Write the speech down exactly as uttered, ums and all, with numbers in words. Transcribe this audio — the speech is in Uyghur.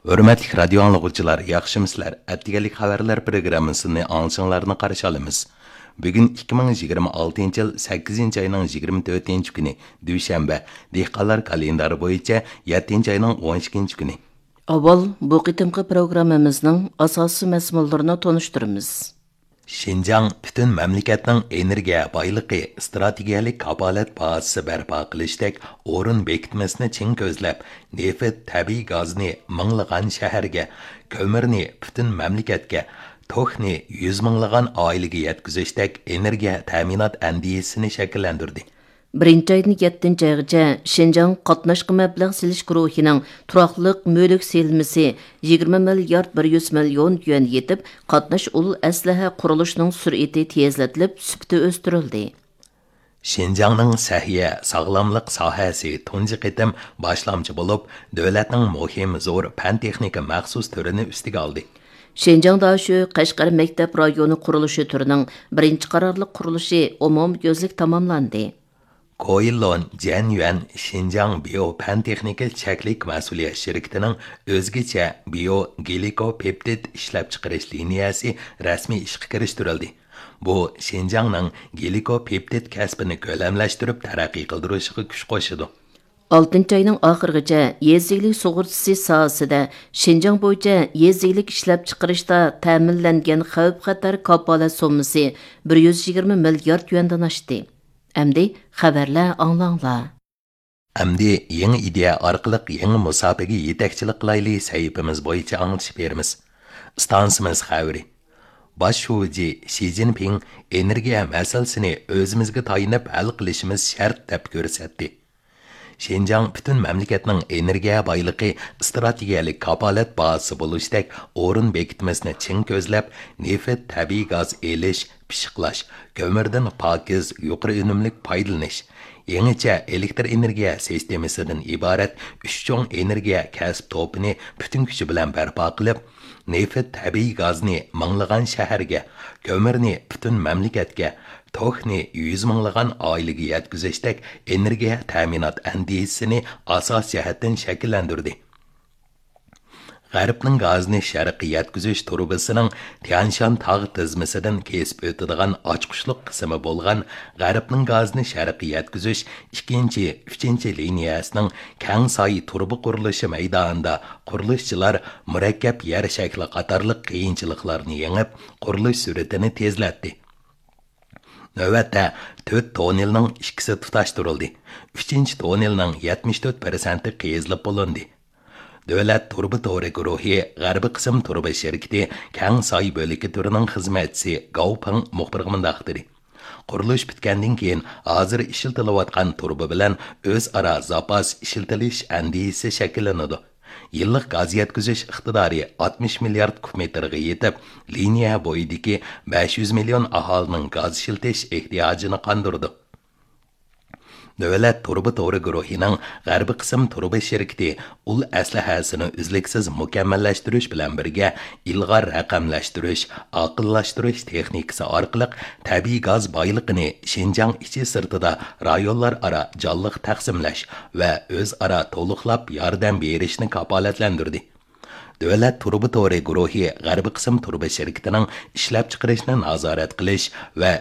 ھۆرمەتلىك رادىيو ئاڭلىغۇچىلار، ياخشىمۇسىلەر؟ ئەتىگەنلىك خەۋەرلەر پروگراممىسىنى ئاڭلىشىڭلارنى قارشى ئالىمىز. بۈگۈن ئىككى مىڭ يىگىرمە ئالتىنچى يىل سەككىزىنچى ئاينىڭ يىگىرمە تۆتىنچى كۈنى، دۈشەنبە، دېھقانلار كالېندارى بويىچە يەتتىنچى ئاينىڭ ئون ئىككىنچى كۈنى. ئاۋۋال بۇ قېتىمقى پروگراممىمىزنىڭ ئاساسىي مەزمۇنلىرىنى تونۇشتۇرىمىز. شىنجاڭ پۈتۈن مەملىكەتنىڭ ئېنېرگىيە بايلىقى ئىستراتېگىيەلىك كاپالەت بازىسى بەرپا قىلىشتەك ئورۇن بېكىتمىسىنى چىڭ كۆزلەپ، نېفىت، تەبىئىي گازنى مىڭلىغان شەھەرگە، كۆمۈرنى پۈتۈن مەملىكەتكە، توكنى يۈز مىڭلىغان ئائىلىگە يەتكۈزۈشتەك ئېنېرگىيە تەمىنات ئەندىزىسىنى شەكىللەندۈردى. بىرىنچى ئايدىن يەتتىنچى ئايغىچە شىنجاڭ قاتناشقا مەبلەغ سېلىش گۇرۇھىنىڭ تۇراقلىق مۈلۈك سېلىنمىسى يىگىرمە مىليارد بىر يۈز مىليون يۈەن يېتىپ، قاتناش ئۇل ئەسلىھە قۇرۇلۇشىنىڭ سۈرئىتى تېزلىتىلىپ، سۈپىتى ئۆستۈرۈلدى. شىنجاڭنىڭ سەھىيە، ساغلاملىق ساھەسى تۇنجى قېتىم باشلامچى بولۇپ، دۆلەتنىڭ مۇھىم زور پەن-تېخنىكا مەخسۇس تۈرىنى ئۈستىگە ئالدى. شىنجاڭ داشۆ قەشقەر مەكتەپ رايونى قۇرۇلۇشى تۈرىنىڭ بىرىنچى قارارلىق قۇرۇلۇشى ئومۇميۈزلۈك تاماملاندى. كويلون جەنيۈەن شىنجاڭ بىيو پەن تېخنىكا چەكلىك مەسئۇلىيەت شىركىتىنىڭ ئۆزگىچە بىيو گلىكوپېپتىد ئىشلەپچىقىرىش لىنىيەسى رەسمىي ئىشقا كىرىشتۈرۈلدى. بۇ شىنجاڭنىڭ گلىكوپېپتىد كەسپىنى كۆلەملەشتۈرۈپ تەرەققىي قىلدۇرۇشىغا كۈچ قوشىدۇ. ئالتىنچى ئاينىڭ ئاخىرىغىچە يېزا ئىگىلىك سۇغۇرتىسى ساھەسىدە شىنجاڭ بويىچە يېزا ئىگىلىك ئىشلەپچىقىرىشتا تەمىنلەنگەن خەۋپ-خەتەر كاپالەت سوممىسى بىر يۈز يىگىرمە مىليارد يۈەندىن ئاشتى. ئەمدى خەۋەرلەر ئاڭلاڭلار. ئەمدى يېڭى ئىدىيە ئارقىلىق يېڭى مۇساپىگە يېتەكچىلىك قىلايلى سەھىپىمىز بويىچە ئاڭلىتىش بېرىمىز. ئىستانسىمىز خەۋىرى. باش شۇجى شى جىنپىڭ ئېنېرگىيە مەسىلىسىنى ئۆزىمىزگە تايىنىپ ھەل قىلىشىمىز شەرت دەپ كۆرسەتتى. شىنجاڭ پۈتۈن مەملىكەتنىڭ ئېنېرگىيە بايلىقى ئىستراتېگىيەلىك كاپالەت بازىسى بولۇشتەك ئورۇن بېكىتمىسىنى چىڭ كۆزلەپ، نېفىت، تەبىئىي گاز ئېلىش، پىششىقلاش، كۆمۈردىن پاكىز، يۇقىرى ئۈنۈملۈك پايدىلىنىش، يېڭىچە ئېلېكتر ئېنېرگىيە سىستېمىسىدىن ئىبارەت ئۈچ چوڭ ئېنېرگىيە كەسىپ توپىنى پۈتۈن كۈچى بىلەن بەرپا قىلىپ، نېفىت، تەبىئىي گازنى مىڭلىغان شەھەرگە، كۆمۈرنى پۈتۈن مەملىكەتكە، توكنى يۈز مىڭلىغان ئائىلىگە يەتكۈزۈشتەك ئېنېرگىيە تەمىنات ئەندىزىسىنى ئاساسىي جەھەتتىن شەكىللەندۈردى. غەربنىڭ گازىنى شەرققە يەتكۈزۈش تۇرۇبىسىنىڭ تيانشان تاغ تىزمىسىدىن كېسىپ ئۆتىدىغان ئاچقۇچلۇق قىسمى بولغان غەربنىڭ گازىنى شەرققە يەتكۈزۈش ئىككىنچى، ئۈچىنچى لىنىيەسىنىڭ كەڭ ساي تۇرۇبا قۇرۇلۇشى مەيدانىدا قۇرۇلۇشچىلار مۇرەككەپ يەر شەكلى قاتارلىق قىيىنچىلىقلارنى يېڭىپ، قۇرۇلۇش سۈرئىتىنى تېزلەتتى. نۆۋەتتە تۆت توننېلنىڭ ئىككىسى تۇتاشتۇرۇلدى. ئۈچىنچى توننېلنىڭ يەتمىش تۆت پىرسەنتى قېزىلىپ بولۇندى. دۆلەت تۇرۇبا تورى گۇرۇھى غەربىي قىسىم تۇرۇبا شىركىتى كەڭ ساي بۆلىكى تۈرىنىڭ خىزمەتچىسى گاۋ پېڭ مۇخبىرغا مۇنداق دېدى: قۇرۇلۇش پۈتكەندىن كېيىن، ھازىر ئىشلىتىلىۋاتقان تۇرۇبا بىلەن ئۆزئارا زاپاس ئىشلىتىلىش ئەندىزىسى شەكىللىنىدۇ. يىللىق گاز يەتكۈزۈش ئىقتىدارى ئاتمىش مىليارد كۇب مېتىرغا يېتىپ، لىنىيە بويىدىكى بەش يۈز مىليون ئاھالىنىڭ گاز ئىشلىتىش ئېھتىياجىنى قاندۇرىدۇ. دۆلەت تۇرۇبا تورى گۇرۇھىنىڭ غەربىي قىسىم تۇرۇبا شىركىتى ئۇل ئەسلىھەسىنى ئۈزلۈكسىز مۇكەممەللەشتۈرۈش بىلەن بىرگە، ئىلغار رەقەملەشتۈرۈش، ئاقىللاشتۇرۇش تېخنىكىسى ئارقىلىق تەبىئىي گاز بايلىقىنى شىنجاڭ ئىچى سىرتىدا رايونلار ئارا جانلىق تەقسىملەش ۋە ئۆزئارا تولۇقلاپ ياردەم بېرىشنى كاپالەتلەندۈردى. دۆلەت تۇرۇبا تورى گۇرۇھى غەربىي قىسىم تۇرۇبا شىركىتىنىڭ ئىشلەپچىقىرىشنى نازارەت قىلىش ۋە